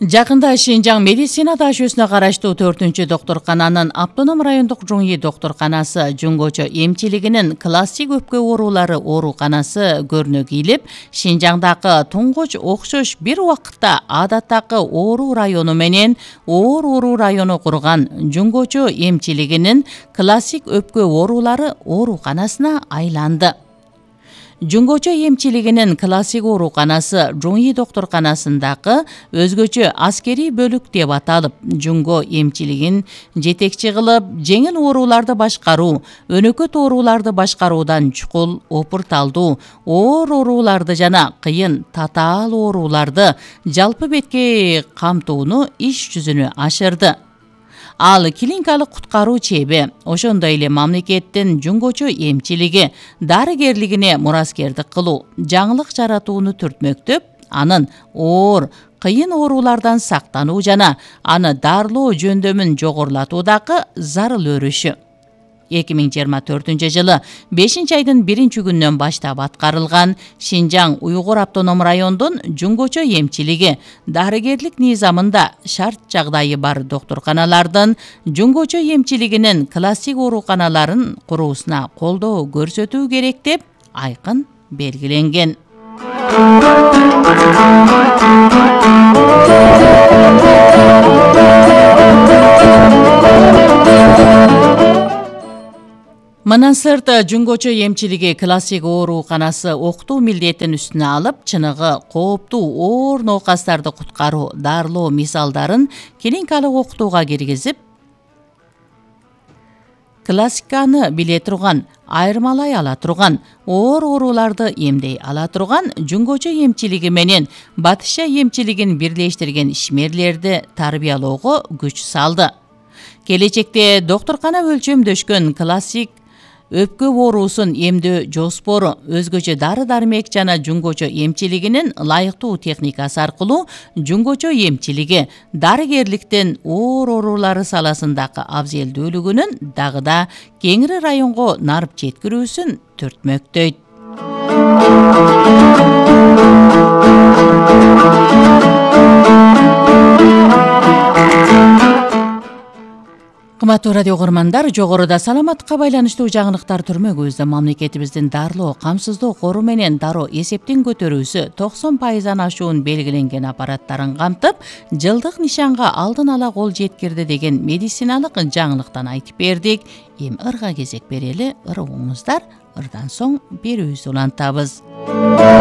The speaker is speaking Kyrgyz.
Жакында Шинжаң медицина дашөсүнө караштуу 4-доктуркананын автоном райондук Жуңи доктурканасы жуңгочо эмчилигинин классик өпкө оорулары ооруканасы көрүнө кийлип, Шинжаңдагы туңгуч окшош бир убакытта адаттагы оору району менен оор оору району курган жуңгочо эмчилигинин классик өпкө оорулары ооруканасына айланды. Жуңгочо эмчилигинин классик ооруканасы Жуңи доктурканасындагы өзгөчө аскерий бөлүк деп аталып, жуңго эмчилигин жетекчи кылып, жеңил ооруларды башкаруу, өнөкөт ооруларды башкаруудан чукул, опурталдуу, оор ооруларды жана кыйын татаал ооруларды жалпы бетке камтууну иш жүзүнө ашырды. Ал клиникалык куткаруу чеби, ошондой эле мамлекеттин жуңгочо эмчилиги дарыгерлигине мураскердик кылуу, жаңылык жаратууну түртмөктөп, анын оор, кыйын оорулардан сактануу жана аны дарылоо жөндөмүн жогорулатуудагы зарыл өрүшү. 2024-жылы 5-айдын 1-күнүнөн баштап аткарылган Шинжаң Уйгур автоном райондун жуңгочо эмчилиги дарыгерлик низамында шарт жагдайы бар доктурканалардын жуңгочо эмчилигинин классик ооруканаларын куруусуна колдоо көрсөтүү керек деп айкын белгиленген. Мындан сырт жуңгочо эмчилиги классик ооруканасы окутуу милдетин үстүнө алып, чыныгы кооптуу оор ноокастарды куткаруу, дарылоо мисалдарын клиникалык окутууга киргизип, классиканы биле турган, айырмалай ала турган, оор ооруларды эмдей ала турган жуңгочо эмчилиги менен батышча эмчилигин бирлештирген ишмерлерди тарбиялоого күч салды. Келечекте доктуркана өлчөмдөшкөн классик өпкө оорусун эмдөө жоспору, өзгөчө дары-дармек жана жуңгочо эмчилигинин ылайыктуу техникасы аркылуу жуңгочо эмчилиги дарыгерликтин оор оорулары саласындагы абзелдүүлүгүнүн дагы да кеңири районго нарып жеткирүүсүн түртмөктөйт. Кымбаттуу радио көрөрмандар, жогоруда саламатка байланыштуу жаңылыктар түрмөгүбүздө мамлекетибиздин дарылоо, камсыздоо кору менен дароо эсептин көтөрүүсү 90% ашуун белгиленген аппараттарын камтып, жылдык нишанга алдын ала кол жеткирди деген медициналык жаңылыктан айтып бердик. Эми ырга кезек берели, ырыгыңыздар, ырдан соң берүүбүздү улантабыз.